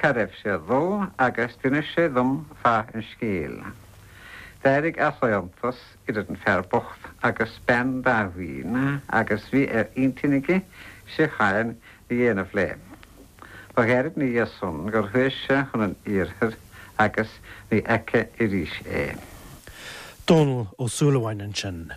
cá raibh sé ag dul agus d'inis sé dom fáth an scéil. D'éirigh easaontas idir an fear bocht agus bean Dáibhín agus bhí ar intinn aige síocháin a dhéanamh léi. Ba ghairid ina dhiaidh san gur chuaigh sé chun an iarthair agus ní fhaca arís é. Dónall Ó Súilleabháin ansin.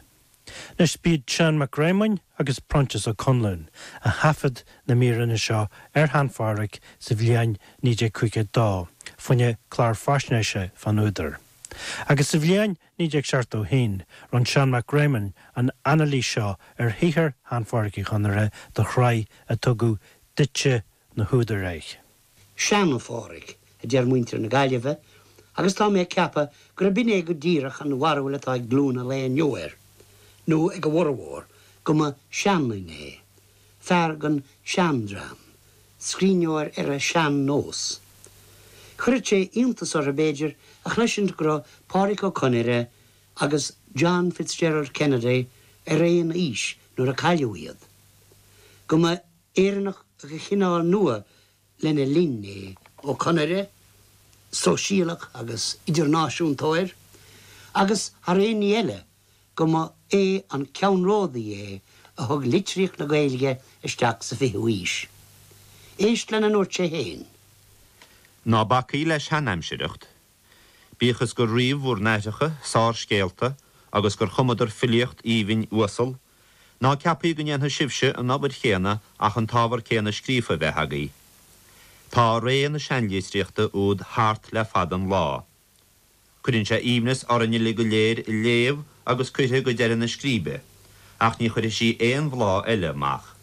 Anois, b'iad Seán Mac Réamoinn agus Proinsias Ó Conluain a thaifead na míreanna seo ar Shean Phádhraic sa bhliain 1952, fá choinne clár faisnéise fán údar. Agus sa bhliain 1971, rinne Seán Mac Réamoinn an anailís seo ar shaothar Shean Phádhraic Uí Chonaire do shraith a tugadh Duitse na hÚdair air. Seana-Phádhraic, a deir muintir na Gaillimhe, agus tá mé ag ceapadh gurb in é go díreach an bharúil atá ag glúin an lae inniu air, nó ag a bhformhór, go mba seanduine é, fear den seandream, scríbhneoir ar an sean-nós. Chuirfeadh sé iontas orthu, b'fhéidir, a chloisint go raibh Pádraic Ó Conaire agus John Fitzgerald Kennedy ar aon aois nuair a cailleadh iad. Go mba Éireannach de chineál nua lena linn é Ó Conaire, sóisialach agus idirnáisiúntóir, agus thar aon ní eile, go mba é an ceannródaí é a thug litríocht na Gaeilge isteach sa fichiú haois. Éist lena ndúirt sé féin. Ná bacaigí le seanaimsireacht. Bíodh is gur ríomh bhur n-aithreacha sárscéalta agus gur chumadar filíocht aoibhinn uasal, ná ceapaigí go ndéanfaidh sibhse an obair chéanna ach an t-ábhar céanna scríofa a bheith agaibh. Tá ré na seanlitríochta úd thart le fada an lá. Cuireann sé aoibhneas orainn uilig go léir í léamh agus cuirfidh go deireadh na scríbe, ach ní chuirfidh sí aon bhláth eile amach.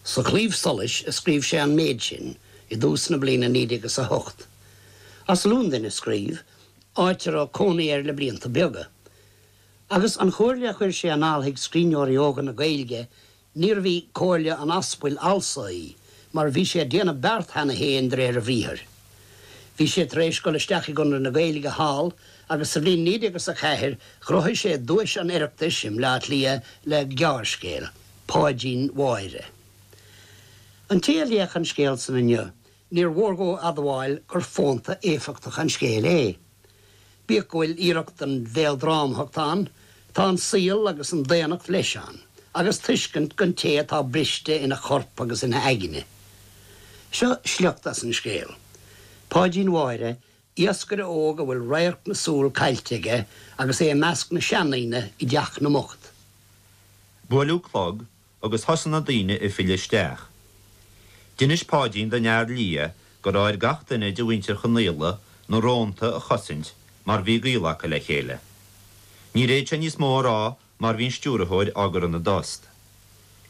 Sa Chlaíomh Solais a scríobh sé an méid sin i dtús na bliana 1908. As Londain a scríobh, áit a raibh cónaí air le blianta beaga. Agus an chomhairle a chuir sé anall chuig scríbhneoirí óga na Gaeilge, níorbh í comhairle an aspail fhalsa í, mar bhí sé ag déanamh beart cheana féin de réir a bhriathair. Bhí sé tar éis dul isteach i gConradh na Gaeilge thall agus sa bhliain 1904 ghnóthaigh sé duais an Oireachtais i mBleá Cliath le gearrscéal, Páidín Mháire. An té a léifeadh an scéal san inniu, níor mhór dhó admháil gur fónta éifeachtach an scéal é. Bíodh go bhfuil iarracht den mhéaldrámthacht ann, tá an saol agus an daonnacht leis ann, agus tuiscint don té atá briste ina chorp agus ina aigne. Seo sliocht as an scéal. Páidín Mháire, iascaire óg a bhfuil radharc na súl caillte aige agus é i measc na seandaoine i dteach na mbocht. Buaileadh clog agus thosaigh na daoine ag filleadh isteach. D'inis Páidín don fhear liath go raibh ar gach duine de mhuintir Chonaola na rónta a chosaint mar bhí gaol acu le chéile. Níor fhéad sé níos mó a rá mar bhí an stiúrthóir á gcur ina dtost.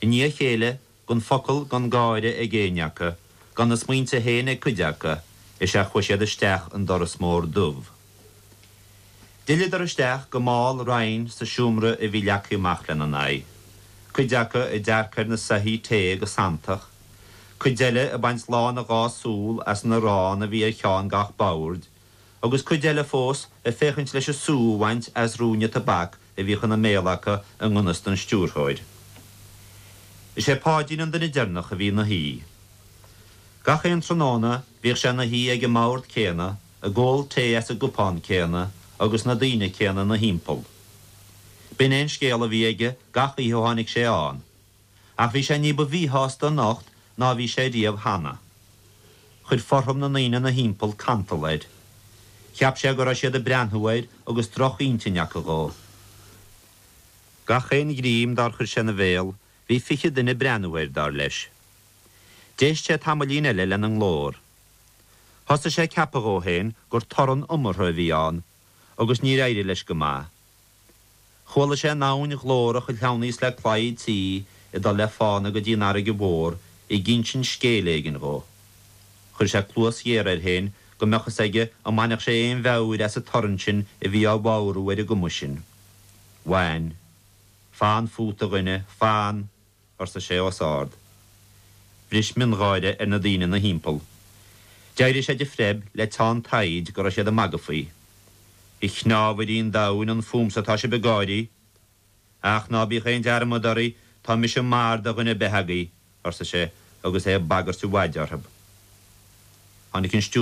I ndiaidh a chéile, gan focal gan gáire ag éinne acu, gan a smaointe féin ag cuid acu, is ea chuaigh siad isteach an doras mór dubh. D'fhilleadar isteach go mall righin sa seomra a bhí leagtha amach lena n-aghaidh, cuid acu ag dearcadh ar na soithí tae go santach, cuid eile ag baint lán a dhá súl as an arán a bhí ar cheann gach boird, agus cuid eile fós ag féachaint leis an sú a bhaint as ruainne tobac a bhíodh ina mbéal acu i ngan fhios don stiúrthóir. Is é Páidín an duine deireanach a bhí ina shuí. Gach aon tráthnóna bhíodh sé ina shuí ag an mbord céanna, ag ól tae as an gcupán céanna agus na daoine céanna ina thimpeall. B'in é an scéal a bhí aige gach oíche ó tháinig sé ann. Ach bhí sé ní ba mhíshásta anocht ná a bhí sé riamh cheana. Chuir fothram na ndaoine ina thimpeall cantal air. Cheap sé go raibh siad ag breathnú air agus droch-intinn acu dhó. Gach aon ghreim dár chuir sé ina bhéal, bhí 20 duine ag breathnú air, dar leis. D'éist sé tamaillín eile lena nglór. Thosaigh sé ag ceapadh dhó féin gur torann iomartha a bhí ann, agus níor éirigh leis go maith. Chuala sé an abhainn ghlórach a shleamhnaíos le claí an tí ag dul le fána go dtí an fharraige mhór ag insint scéil éigin dhó. Chuir sé cluas ghéar air féin go mbeadh fhios aige an mbainfeadh sé aon mheabhair as an torann sin a bhí á bhodhrú ar an gcuma sin. Bhain. Fan fút, a dhuine, fan! arsa sé os ard. Bhris miongháire ar na daoine ina thimpeall. D'éirigh sé de phreib le teann taighde go raibh siad ag magadh faoi. A chneámhairí an domhain, an fúmsa atá sibh ag gáirí? Ach ná bíodh aon dearmad oraibh, tá mise mar do dhuine ar bith agaibh, arsa sé agus é ag bagairt a mhaide orthu. Tháinig an stiúrthóir.